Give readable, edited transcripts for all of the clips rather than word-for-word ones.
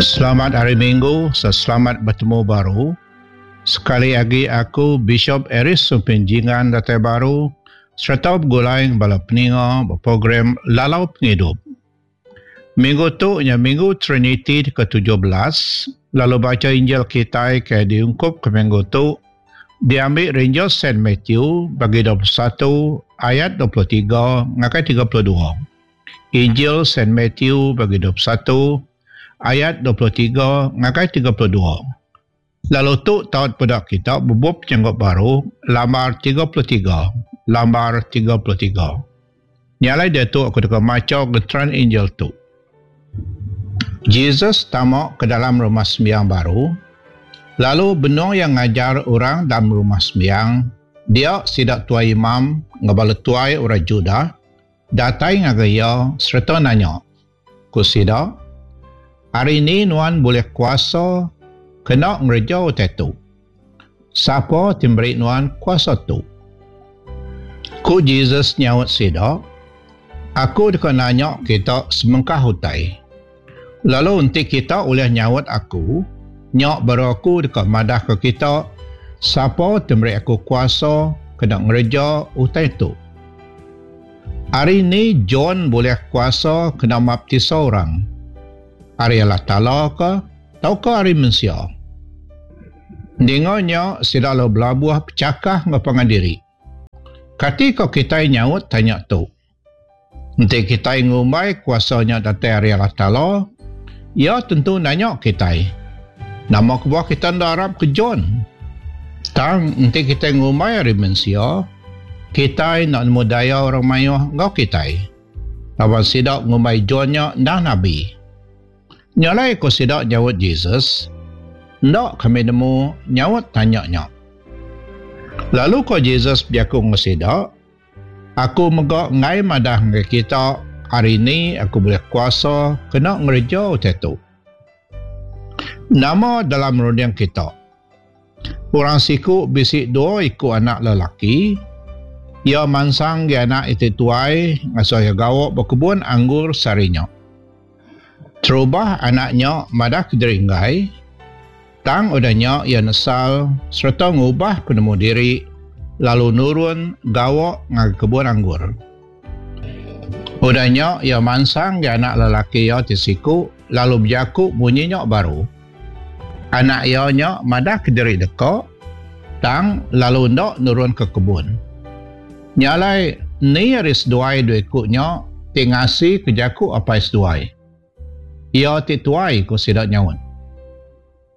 Selamat hari Minggu, selamat betemu baru. Sekali agi aku Bishop Aris Sumpin Jingan datai baru sereta begulai bala peninga ba program Lalau Pengidup. Minggu tu nya Minggu Triniti ke 17 lalu bacha Injil kitai ke diungkup ke minggu tu diambi ari Injil Saint Matthew bagi 21 ayat 23 ngagai 32. Injil Saint Matthew bagi 21 ayat 23 ngagai 32. Lalu tu taut peda kita bebup Penyanggup Baru lambar 33, lambar 33. Nya alai diatu aku deka macha genteran Injil tu. Jesus tama ke dalam rumah sembiang baru, lalu benung iya ngajar orang dalam rumah sembiang, dia sida tuai imam enggau bala tuai orang Judah datai ngagai iya sereta nanya, Ku sida, Ari ni nuan bulih kuasa kena ngereja utai tu? Sapa ti meri nuan kuasa tu? Ku Jesus nyaut sida, Aku deka nanya kita semengkah utai. Lalu enti kita ulih nyaut aku, nya baru aku deka madahka kita sapa ti meri aku kuasa kena ngereja utai tu. Ari ni John bulih kuasa kena maptisa orang? Ari Allah Taala ka tauka ari mensia? Ninga nya sida lalu belabuh pechakah enggau pangan diri. Kati ko kitai nyaut tanya tu? Enti kitai ngumbai kuasa nya datai ari Allah Taala, Iya tentu nanya kitai, Nama kebuah kita enda arap ke John? Tang enti kitai ngumbai ari mensia, kitai enda nemu daya orang mayuh enggau kitai, laban sida ngumbai John nya endang nabi. Nya alai ku sida nyaut Jesus, Enda kami nemu nyaut tanya nya. Lalu ku Jesus bejaku enggau sida, Aku mega enggai madah ngagai kita ari ni aku bulih kuasa kena ngereja utai tu. Nama dalam runding kita? Orang siku bisi dua iku anak lelaki. Iya mansang agi anak iti tuai ngasuh iya gawa ba kebun anggur sehari nya. Terubah anak nya madah kediri enggai, tang udah nya iya nesal sereta ngubah penemu diri lalu nurun gawa ngagai kebun anggur. Udah nya iya mansang agi anak lelaki iya ti siku lalu bejaku munyi nya baru. Anak iya nya madah kediri deka, tang lalu enda nurun ke kebun. Nya alai, ni ari seduai dua iku nya ti ngasika jaku apai seduai? Iya ti tuai, ku sida nyaut.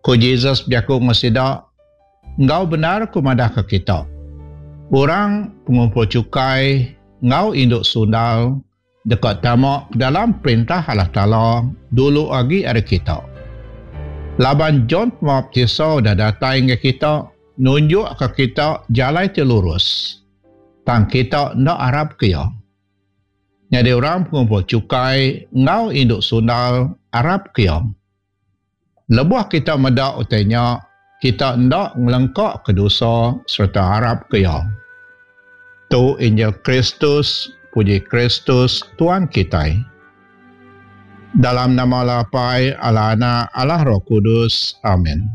Ku Jesus bejaku enggau sida, Enggau bendar ku madahka kita, orang pengumpul chukai enggau indu sundal deka tama ke dalam Perintah Allah Taala dulu agi ari kita. Laban John Pemaptisa udah datai ngagai kita nunjukka kita jalai ti lurus, tang kita enda arapka iya. Nyadi orang pengumpul chukai enggau indu sundal arapka iya. Lebuh kita meda utai nya, kita enda ngelengkaka dosa sereta arapka iya. Tu Injil Kristus, puji Kristus Tuan kitai. Dalam nama Allah Apai, Allah Anak, Allah Roh Kudus. Amin.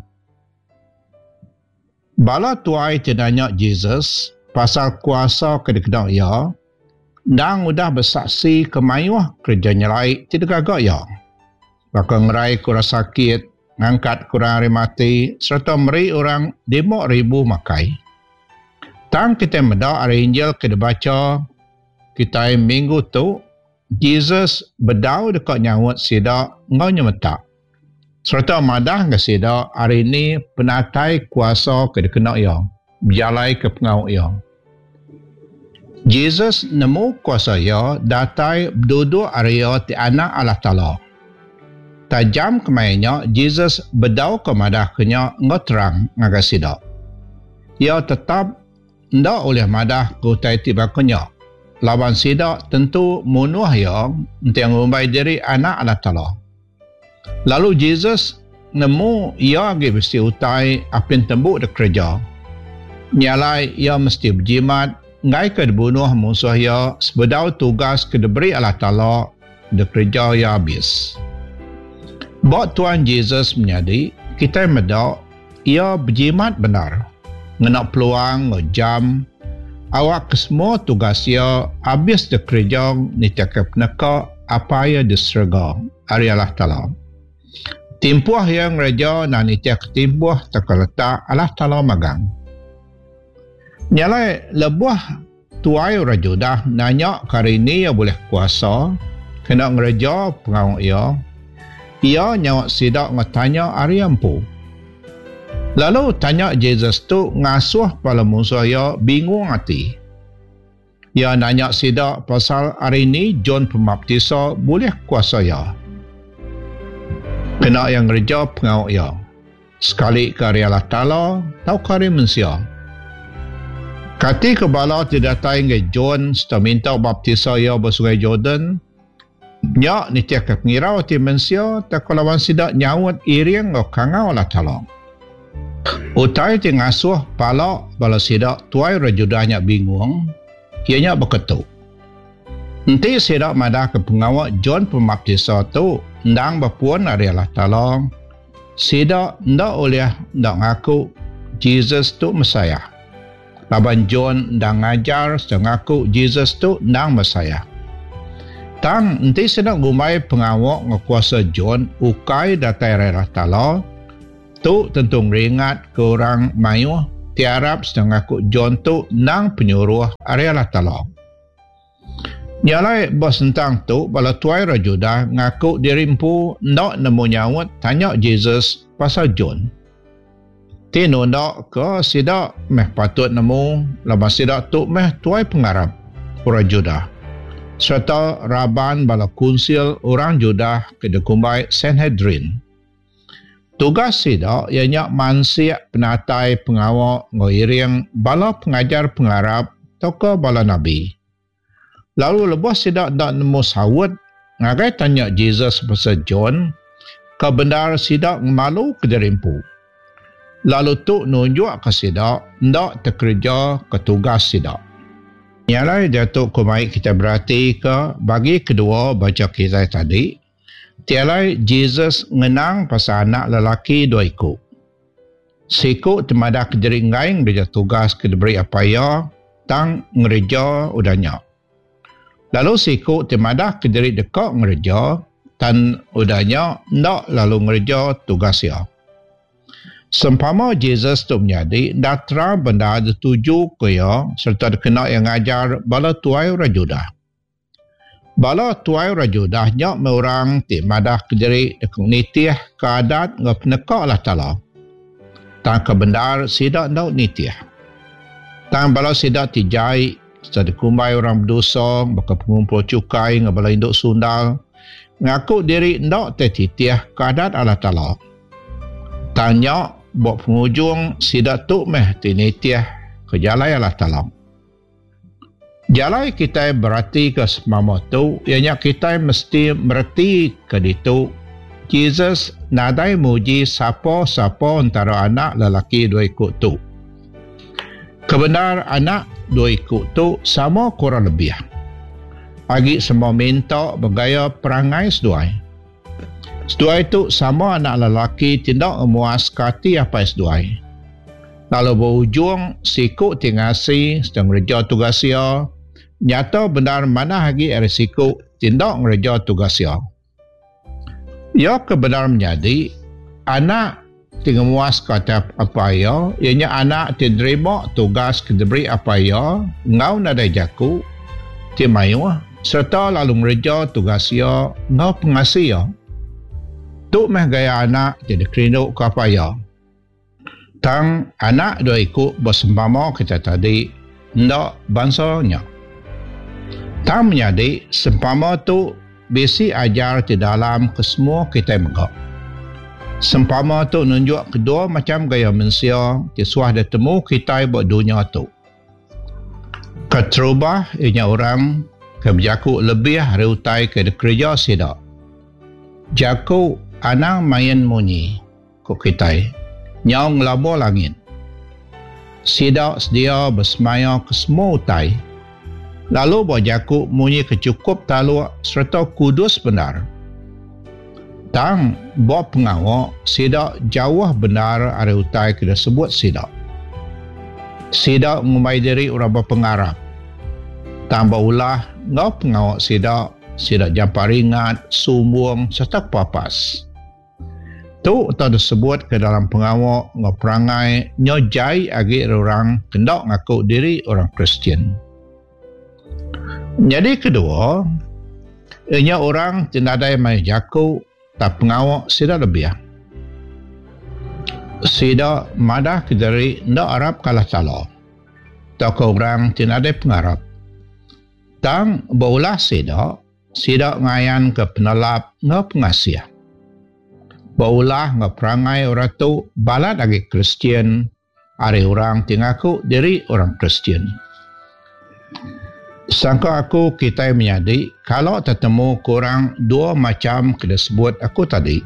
Bala tuai ti nanya Jesus pasal kuasa ke dikena iya, endang udah besaksi ke mayuh kereja nyelai ti digaga iya. Baka ngeraika orang sakit, ngangkatka orang ari mati sereta meri orang 5000 makai. Tang kitai meda ari Injil ke dibacha kitai minggu tu, Jesus bedau deka nyaut sida enggau nyemetak sereta madah ngagai sida ari ni penatai kuasa ke dikena iya bejalaika pengawa iya. Jesus nemu kuasa iya datai beduduk ari iya ti Anak Allah Taala. Tajam kemaya nya Jesus bedau ke madahka nya enggau terang ngagai sida. Iya tetap enda ulih madah ke utai ti baka nya laban sida tentu munuh iya enti ngumbai diri Anak Allah Taala. Lalu Jesus nemu iya agi bisi utai apin tembu dikereja. Nya alai iya mesti bejimat enggaika dibunuh munsuh iya sebedau tugas ke diberi Allah Taala dikereja iya abis. Ba Tuan Jesus menyadi, kitai meda iya bejimat bendar ngena peluang enggau jam awakka semua tugas iya abis dikereja nitihka peneka Apai iya di serega ari Allah Taala. Timpuh iya ngereja endang nitihka timpuh tauka letak Allah Taala magang. Nya alai lebuh Tuai orang Judah nanya ke hari ni iya bulih kuasa kena ngereja pengawa iya, iya nyaut sida enggau tanya ari iya empu. Lalu tanya Jesus tu ngasuh bala munsuh iya bingung ati. Iya nanya sida pasal hari ni John Pemaptisa bulih kuasa iya kena iya ngereja pengawa iya. Sekali ke ari Allah Taala tauka ari mensia. Kati ke bala ti datai ngagai John sereta minta baptisa iya ba Sungai Jordan nya nitihka pengirau ati mensia tauka laban sida nyaut iring enggau kangau Allah Taala? Utai ti ngasuh pala bala sida tuai orang Judah nya bingung iya nya baka tu. Enti sida madahka pengawa John Pemaptisa tu endang bepun ari Allah Taala, Sida enda ulih enda ngaku Jesus tu Messiah, laban John endang ngajar sereta ngaku Jesus tu endang Messiah. Tang enti sida ngumbai pengawa enggau kuasa John ukai datai ari Allah Taala, tu tentu ngeringatka orang mayuh ti arap sereta ngaku John tu endang penyuruh ari Allah Taala. Nya alai ba sentang tu bala tuai orang Judah ngaku diri empu enda nemu nyaut tanya Jesus pasal John. Ti nunda ke sida meh patut nemu laban sida tu meh tuai pengarap orang Judah sereta raban bala kunsil orang Judah ke dikumbai Sanhedrin. Tugas sida iya nya mansik penatai pengawa enggau iring bala pengajar pengarap tauka bala nabi. Lalu lebuh sida enda nemu saut ngagai tanya Jesus pasal John, ke bendar sida ngemaluka diri empu. Lalu tu nunjukka sida enda tekerejaka tugas sida. Nya alai diatu ku mai kitai beratika bagi kedua bacha kitai tadi. Ti alai Jesus ngenang pasal anak lelaki dua iku. Siku ti madah kediri enggai ngereja tugas ke diberi apai iya tang ngereja udah nya. Lalu siku ti madah kediri deka ngereja tang udah nya enda lalu ngereja tugas iya. Sempama Jesus tu menyadi enda terang bendar ditujuka iya sereta dikena iya ngajar bala tuai orang Judah. Bala tuai orang Judah nya meh orang ti madah kediri deka nitihka adat enggau peneka Allah Taala. Tang ke bendar sida enda nitih. Tang bala sida ti jai sereta dikumbai orang bedosa baka pengumpul chukai enggau bala indu sundal ngaku diri enda tetitihka adat Allah Taala. Tang nya ba pengujung sida tu meh ti nitihka jalai Allah Taala. Jalai kitai beratika sempama tu iya nya kitai mesti meretika ditu Jesus nadai muji sapa-sapa entara anak lelaki dua iku tu. Kebendar anak dua iku tu sama kurang lebih. Agi semua minta begaya perangai seduai. Seduai tu sama anak lelaki ti enda ngemuaska ati apai seduai. Lalu ba ujung, siku ti ngasi sereta ngereja tugas iya, nyata bendar manah agi ari siku ti enda ngereja tugas iya. Iya ke bendar menyadi, anak ti ngemuaska ati apai iya, iya nya anak ti nerima tugas ke diberi apai iya enggau nadai jaku ti mayuh sereta lalu ngereja tugas iya enggau pengasi iya. Tu meh gaya anak ti dikerinduka apai iya. Tang anak dua iku ba sempama kita tadi enda bansa nya. Tang menyadi sempama tu bisi ajar ti dalam ke semua kitai mega. Sempama tu nunjuk kedua macham gaya mensia ti suah ditemu kitai ba dunya tu. Keterubah iya nya orang ke bejaku lebih ari utai ke dikereja sida. Jaku anang main munyi. Ku kitai, nyau ngelabur langit. Sida sedia besemaya ke semua utai, lalu ba jaku munyi ke chukup taluk sereta kudus bendar. Tang ba pengawa sida jauh bendar ari utai ke disebut sida. Sida ngumbai diri orang bepengarap. Tang ba ulah enggau pengawa sida, sida jampat ringat, sumbung sereta kepapas. Tu tau disebut ke dalam pengawa enggau perangai nyau jai agi ari orang ke enda ngaku diri orang Kristian. Nyadi kedua, iya nya orang ti nadai mayuh jaku tang pengawa sida lebih. Sida madah kediri enda arap ke Allah Taala tauka orang ti nadai pengarap. Tang ba ulah sida, sida ngayanka penelap enggau pengasih. Ba ulah enggau perangai orang tu balat agi Kristian ari orang ti ngaku diri orang Kristian. Sangka aku kitai menyadi kala tetemu ke orang dua macham ke disebut aku tadi.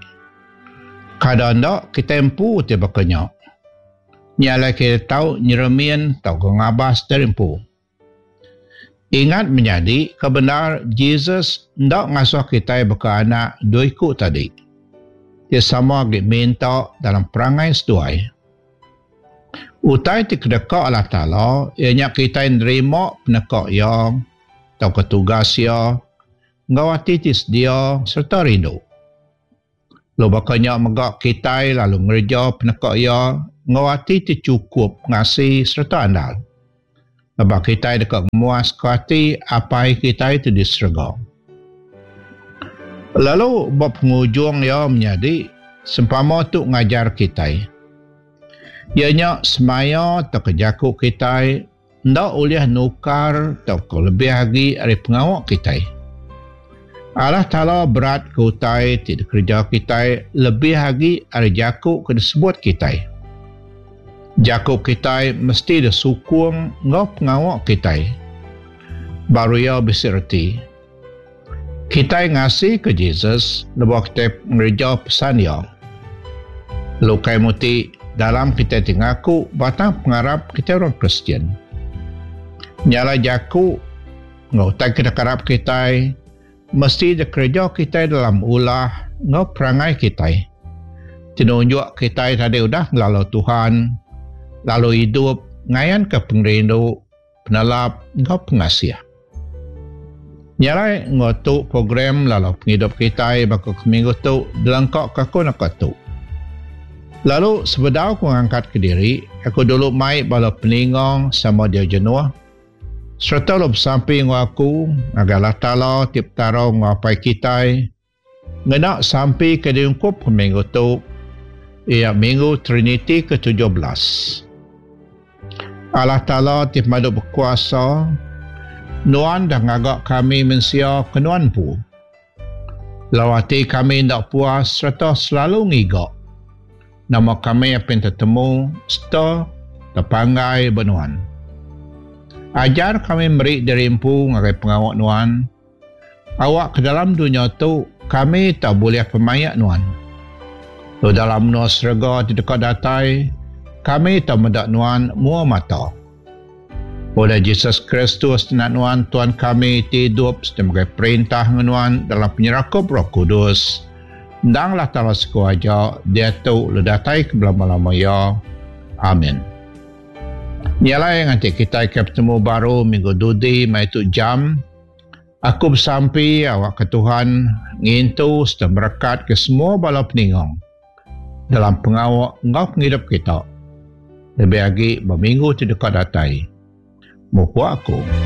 Kada enda kitai empu ti baka nya. Nya alai kitai tau nyeremin tauka ngabas diri empu. Ingat menyadi ke bendar Jesus enda ngasuh kitai baka anak dua iku tadi ti sama agi minta dalam perangai seduai. Utai ti kedeka Allah Taala iya nya kitai nerima peneka Iya tauka tugas Iya enggau ati ti sedia sereta rindu. Lalu baka nya mega kitai lalu ngereja peneka Iya enggau ati ti chukup ngasi sereta andal, laban kitai deka ngemuaska ati Apai kitai ti di serega. Lalu ba pengujung iya menyadi, sempama tu ngajar kitai, iya nya semaya tauka jaku kitai enda ulih nukar tauka lebih agi ari pengawa kitai. Allah Taala beratka utai ti dikereja kitai lebih agi ari jaku ke disebut kitai. Jaku kitai mesti disukung enggau pengawa kitai. Baru iya bisi reti. Kitai ngasika Jesus lebuh kitai ngereja pesan iya. Lalu ukai muti dalam kitai ti ngaku batang pengarap kitai orang Kristian. Nya alai jaku enggau utai ke dikarap kitai mesti dikereja kitai dalam ulah enggau perangai kitai ti nunjuk kitai tadi udah ngelalau Tuhan lalu idup ngayanka pengerindu penelap enggau pengasih. Nya alai enggau tu program lalau pengidup kitai baka ke minggu tu dilengka ke aku naka tu. Lalu sebedau aku ngangkat kediri, aku dulu mai bala peninga sama dia jenuh sereta lalu besampi enggau aku ngagai Allah Taala ti Petara enggau Apai kitai Ngena sampi ke diungkup ke minggu tu iya minggu Triniti ke 17. Allah Taala ti pemadu bekuasa, Nuan dah ngaga kami mensia ke Nuan empu. Lalu ati kami enda puas sereta selalu ngiga nama kami apin tetemu sereta tepanggai ba Nuan. Ajar kami meri diri empu ngagai pengawa Nuan. Awak ke dalam dunya tu kami tau bulih pemaik Nuan. Lalu dalam menua serega ti deka datai, kami tau meda Nuan mua mata. Oleh Jesus Kristus Anak Nuan Tuan kami ti idup sereta megai perintah enggau Nuan dalam penyerakup Roh Kudus, endang Allah Taala siku aja, diatu lalu datai ke belama-lama iya. Amin. Nya alai nganti kitai ke betemu baru minggu dudi maya tu jam, Aku besampi awakka Tuhan ngintu sereta merekatka semua bala peninga dalam pengawa enggau pengidup kita, lebih agi ba minggu ti deka datai. Mupuk aku.